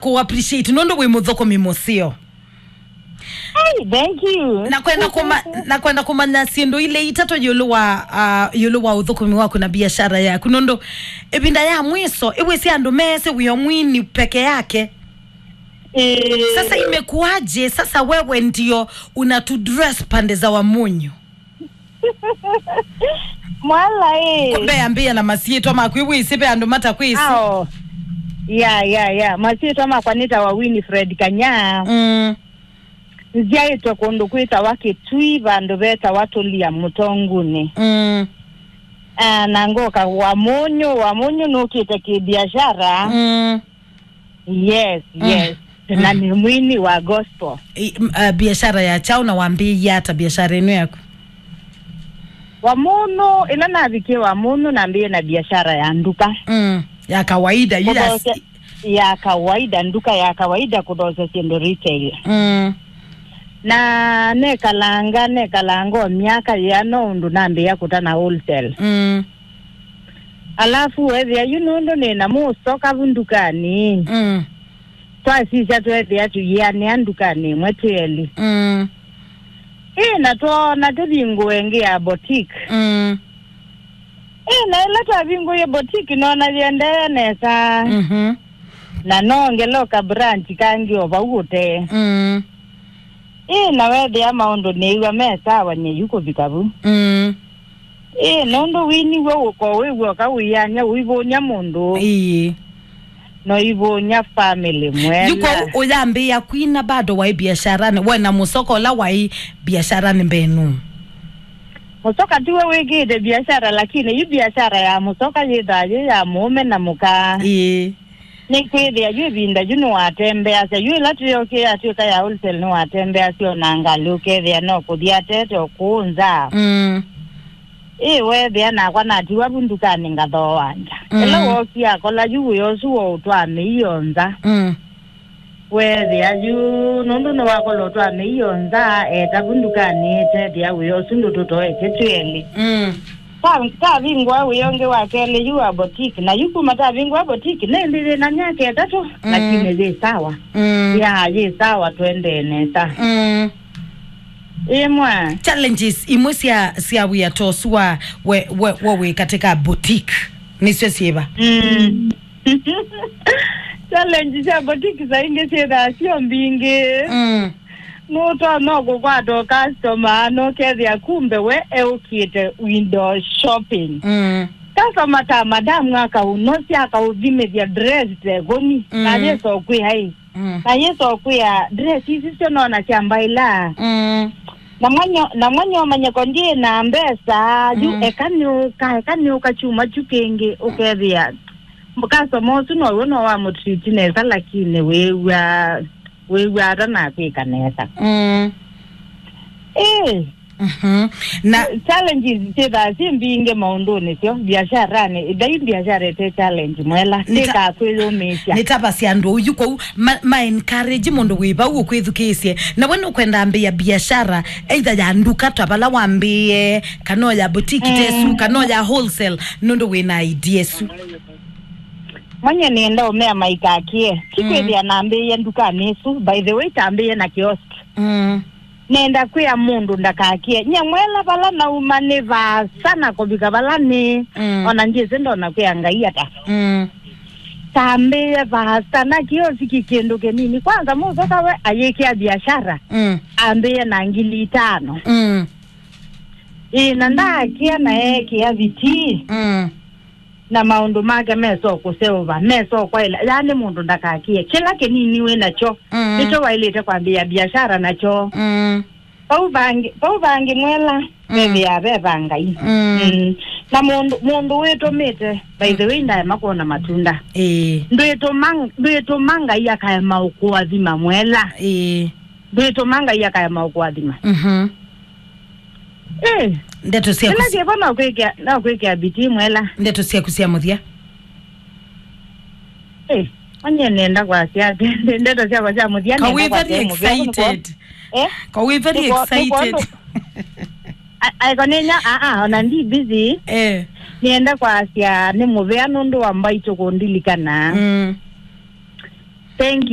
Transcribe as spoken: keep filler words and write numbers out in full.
Kũ appreciate nũndũ wĩ mũthũkũmi mũseo. Hey, thank you. Na kwenda kuma, na kwenda kumanya syĩndũ ile itatũ yũlũ wa, uh, yũlũ wa ũthũkũmi waku na biashara yaku, nũndũ ĩvinda ya mwiso ĩwĩsĩ andũ meesĩ wĩo mwini peke yake. Eh. Sasa imekuwaje? Sasa wewe ndio unatu dress pande za Wamunyu. Mwala ĩ. Mbeyambĩĩa na masyĩtwa maku, wĩsĩ ve andũ matakwĩsĩ. Ao. Ya, ya, ya. Masyĩtwa makwa nĩtawa Winifred Kanya. Mm. Nzyaĩtwe kũndũ kwĩtawa Kĩtui, vandũ vetawa Tũlia Mũtongunĩ. Mm. Ah, na ngoka Wamunyu, Wamunyu nũkĩte kĩbiashara. Mm. Yes, mm, yes. Mm. Na nĩ mwini wa gospel. I, m-, uh, biashara ya chao na wambĩĩie ata biashara ĩno yaku? Wamunyu, ĩla navikie Wamunyu nambĩĩe na biashara ya nduka. Mm, ya kawaida, yu ya s- Kũthokya-, ya kawaida, nduka ya kawaida kũthokya syĩndũ retail. Mm. Na nekalanga, nekalanga o myaka yĩana ũndũ nambĩĩa kũtana wholesale. Mm. Alafu weethĩa yu nũndũ nĩ na mũsoka vu ndukanĩ. Mm. Twasisya tweethĩa tũyĩanĩa ndukanĩ ĩmwe twĩ elĩ. Mm. Ĩ, na twoona tũvingũe ĩngĩ ya boutique. Mm. Ĩ, na ĩla twavingũie boutique noona yĩendee nesa. Mhm. Na noongeloka branch kangĩ o vau ũtee. Mm. Ĩ, na weethĩa maũndũ nĩĩw'a me sawa nyie yu kũvika vu. Mm. Ĩ, nũndũ winiw'a ũko wĩw'oka wĩyany'a ũivũny'a mũndũ. Ĩĩ. No ivũny'a family mwela. Yu kwoou ũyambĩĩa kwina bado waĩ biasharani, we na mũsoka ũla waĩ biasharani mbenu? Mũsoka tiwe wĩkĩĩte biashara, lakini yu biashara ya mũsoka yĩthaa yĩ ya mũũme na mũka. Ĩĩ. Nĩkwĩthĩa yu ĩvinda yu nĩwatembeasya, yu ĩla twĩokĩe atw'ĩka ya wholesale nĩwatembeasya ona ngalĩ, ũkethĩa no kũthi atete o kũũ nza. Mm. Ĩ, weethĩa nakwa natiwa vu ndukanĩ ngathooa nza. Mm. Ĩla wookie akola yu wĩa ũsu wa ũtwaa mĩio nza. Mm. Weethĩa yu, nũndũ nĩwakola ũtwaa mĩio nza, eta vu ndukanĩ, tethĩa wĩa ũsu ndũtũtoetye twĩ elĩ. Mm. Ta-, tavingũa wĩa ũngĩ wa kelĩ yu wa boutique, na yu kuma tavingũa boutique, nĩndĩ yĩ na myaka ĩtatũ, mm, lakini yĩ sawa. Mm. Ya, yĩ sawa, tũendee nesa. Mm. Ĩmwe. Challenges imwe sya, sya wĩa ta ũsu wa we, we, we wĩ katika boutique nĩsyo syĩva? Mm. Challenge sya boutique saa ingĩ syĩthaa syo mbingĩ. Mm. Nũtonya kũkwata o customer na ũkethĩa kumbe we eũkĩte window shopping. Mm. Customer ta madamu akaũnosya, akaũthimĩthya dress tekũni, mm, na yĩsa ũkwĩa ĩ. Mm. Na yĩsa ũkwĩa dress ici syo nona sya mbaĩla. Mm. Na mwanyo, na mwanyo ũmanye ko ndyĩ na mbesa, yu, mm, eka nĩũka, eka nĩũka kyumwa kyu kĩngĩ, ũkethĩa customer ũsu now'o no wamũtreat nesa, lakini wĩw'a, wĩw'a ata nakwĩka nesa. Mm. Ĩĩ. Mhm. Na challenges syĩthaa syĩ mbingĩ maũndũnĩ syo biasharani, ndai biashara ĩte challenge mwela, nĩta-, tĩkaa kwĩyũmĩĩsya. Nĩtavasya andũ ũyu kwoou ma, ma encourage mũndũ wĩ vau ũkwĩthukĩĩsye. Na we nũkwenda ambĩĩa biashara, either ya nduka ta vala wambĩĩe, kana o ya boutique, mm, tesu, kana o ya wholesale, nũndũ wĩ na idea ĩsu. Mwenye nĩenda ũmea maikakie. Ti, mm, kwĩthĩa nambĩĩe ndukanĩ ĩsu. By the way, tambĩĩe na kiosk. Mm. Nenda kwĩa mũndũ ndakakie. Nye mwela vala nauma nĩ vaasa na kũvika vala nĩ. Mm. Ona ndyĩsĩ ndona kwĩa Ngai ata. Mm. Tambĩĩe vaasa na kioski kĩndũ kĩnini. Kwanza mũsoka we ayĩkĩa biashara. Mm. Ambĩĩe na ngili itano. Mm. Ĩ, na ndaakia na eekĩa vitii. Mm. Na maũndũ make mesa o kũseũva, mesa o kwaĩla, yaani mũndũ ndakakie. Kĩla kĩnini wĩ nakyo, mm, nĩkyo waĩlĩte kwambĩĩa biashara nakyo. Mm. Vau vangĩ, vau vangĩ mwela, mm, vethĩaa ve va Ngai. Mm. Mm. Na mũndũ, mũndũ wĩtũmĩte, by the way, ndaema kwona matunda. Ĩĩ. Ndwĩtũma, ndwĩtũma Ngai akaema ũkũathima mwela. Ĩĩ. Ndwĩtũma Ngai akaema ũkũathima. Mhm. Eh. Ndeto sya kĩla kũsi- kĩvo no kwĩkĩa, no kwĩkĩa bitii mwela. Ndeto syaku sya mũthya. Eh, onye nenda kwasya atĩ, ndeto syakwa sya mũthya, ka nenda wĩ kwasya very mũthya, nĩkwa-, excited. Eh? Ka wĩ very nĩkwa-, excited. Nĩkwa-, a-, aiko nĩnya, a, a, ona ndi busy. Eh. Nĩenda kwasya nĩ mũvea nũndũ wa mbaitũ kũndilikana. Mm. Thank you.